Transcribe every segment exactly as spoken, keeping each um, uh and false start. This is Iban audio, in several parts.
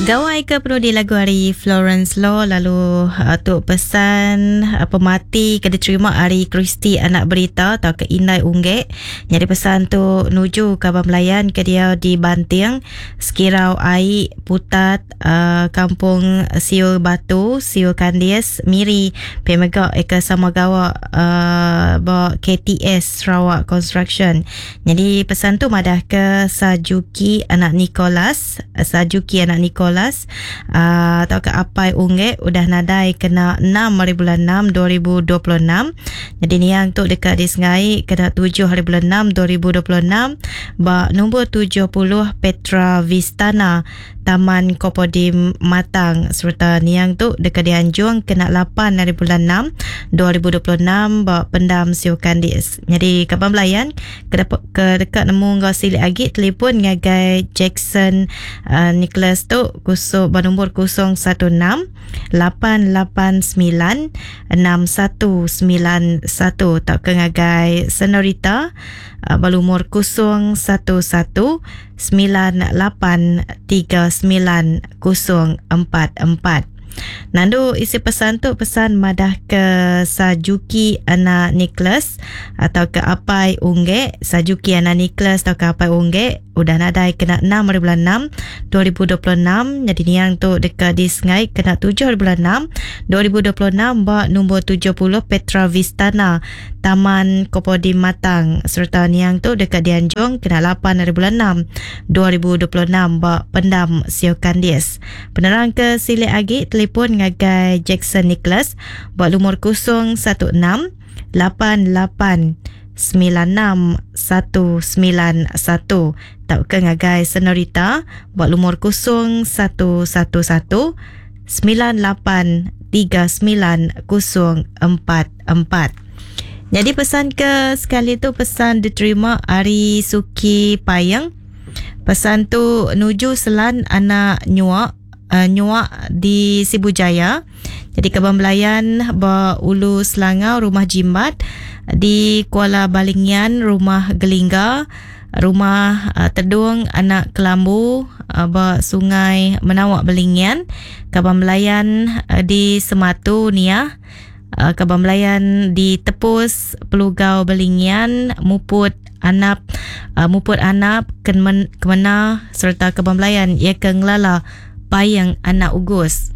Gawai ke perlu di lagu hari Florence Law, lalu uh, tu pesan uh, pemati ke diterima hari Kristi anak berita atau ke Indai Unggek. Jadi pesan tu nuju ke Abang Melayan ke dia di Banting, Sekirau Ai, Putat, uh, Kampung Siul Batu, Siul Kandis, Miri, P M G Eka sama gawa uh, ba K T S Sarawak Construction. Jadi pesan tu madah ke Sajuki anak Nicholas, Sajuki anak Nicholas uh, atau ke Apai Unggek udah nadai kena enam hari bulan enam dua ribu dua puluh enam. Jadi niang tu dekat di Sengai kena tujuh hari bulan enam dua ribu dua puluh enam ba nombor tujuh puluh Petra Vistana, Taman Kopodim Matang, serta niang tu dekat dianjung kena lapan hari bulan enam dua ribu dua puluh enam ba Pendam Siu Kandis. Jadi kaban belayan ke, ke dekat nemu ngau silik agi, telefon ngagai Jackson uh, Nicholas tu kusuk ba nombor kosong satu enam lapan lapan sembilan enam satu sembilan satu atau ke ngagai Senorita uh, balumur kosong satu satu sembilan lapan tiga sembilan kosong empat empat. Nandu isi pesan tu, pesan madah ke Sajuki anak Nicholas atau ke Apai Unggek, Sajuki anak Nicholas atau ke Apai Unggek udah nadai kena enam hari bulan enam dua ribu dua puluh enam. Jadi niang tu dekat di Sengai kena tujuh hari bulan enam dua ribu dua puluh enam ba nombor tujuh puluh Petra Vistana, Taman Kopodim Matang, serta niang tu dekat Dianjung kena lapan hari bulan enam dua ribu dua puluh enam ba Pendam Sio Kandis. Penerang ke silik agi, telefon ngagai Jackson Nicholas buat lumur kosong satu enam lapan lapan sembilan enam satu sembilan satu tau ke ngagai Senorita buat lumur kosong satu satu satu sembilan lapan tiga sembilan kosong empat empat. Jadi pesan ke sekali tu, pesan diterima hari Suki Payang. Pesan tu nuju Selan anak Nyuak uh, Nyuak di Sibu Jaya. Jadi Kebun Belayan ba Ulu Selangau, Rumah Jimbat di Kuala Balingian, Rumah Gelingga, Rumah uh, Tedung anak Kelambu uh, ba Sungai Menawak Balingian, Kaban Belayan uh, di Sematu Nia, uh, Kaban Belayan di Tepus Pelugau Balingian, Muput Anap uh, Muput Anap Kemen, Kemena serta Kaban Belayan ia ke Ngelala Payang anak Ugus.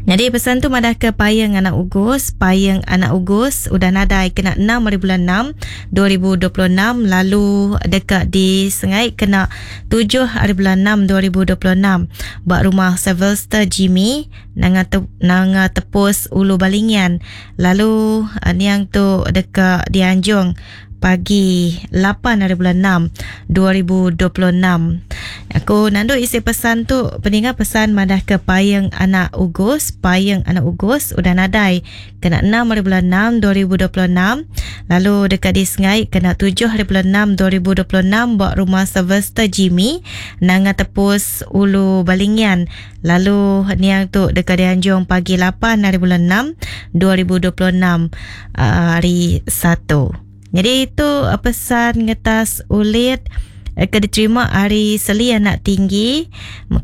Jadi pesan tu madah ke Payang anak Ugus, Payang anak Ugus udah nadai kena enam hari bulan enam dua ribu dua puluh enam, lalu dekat di Sengai kena tujuh hari bulan enam dua ribu dua puluh enam bak rumah Sylvester Jimmy, Nanga te, Nanga Tepus Ulu Balingian, lalu uh, niang tu dekat di Anjung pagi lapan hari bulan enam dua ribu dua puluh enam. Aku nandu isi pesan tu peninggal, pesan madah ke Payang anak Ugus, Payang anak Ugus udah nadai kena enam hari bulan enam dua ribu dua puluh enam, lalu dekat di Sengai kena tujuh hari bulan enam dua ribu dua puluh enam buat rumah Sylvester Jimmy, Nanga Tepus Ulu Balingian, lalu niang tu dekat di Anjung pagi lapan hari bulan enam dua ribu dua puluh enam uh, hari satu. Jadi itu uh, pesan ngetas ulit eh, ke diterima hari Seli anak tinggi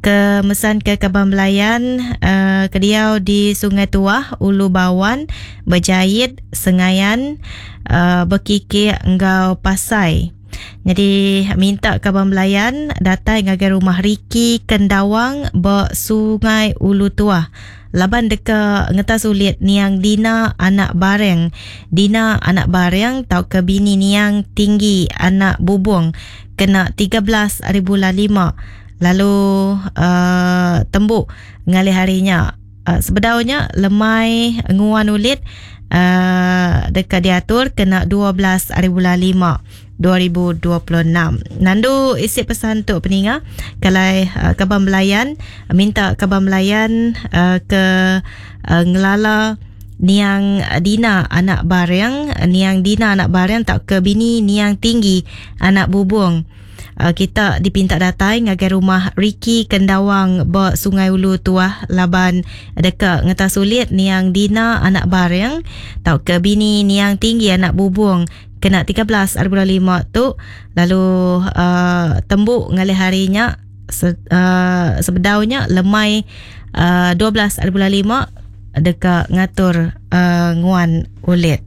ke mesan ke Kaban Belayan uh, ke diau di Sungai Tuah, Ulu Bawan, Berjahit, Sengayan, uh, Berkikir enggau Pasai. Jadi minta Kaban Belayan datang ngagai rumah Riki Kendawang ba Sungai Ulu Tuah. Laban deka ngetas ulit niang Dina anak Bareng. Dina anak Bareng tau ke bini niang Tinggi anak Bubung kena tiga belas hari bulan lima. Lalu uh, tembuk ngalih harinya. Uh, sebedaunya lemai nguan ulit uh, dekat diatur kena dua belas hari bulan lima dua ribu dua puluh enam. Nandu isi pesan tu peninga kalau uh, Kaban Belayan minta Kaban Belayan uh, ke uh, ngelala niang Dina anak Bareng, niang Dina anak Bareng tak ke bini niang Tinggi anak Bubung. Uh, kita dipinta datai ngagai rumah Ricky Kendawang ba Sungai Ulu Tuah laban dekat ngetas sulit niang Dina anak Bareng tau ke bini niang Tinggi anak Bubung kena tiga belas hari bulan lima tu, lalu uh, tembuk ngalih harinya. Se, uh, sebedaunya lemai uh, dua belas hari bulan lima deka ngatur uh, nguan ulit.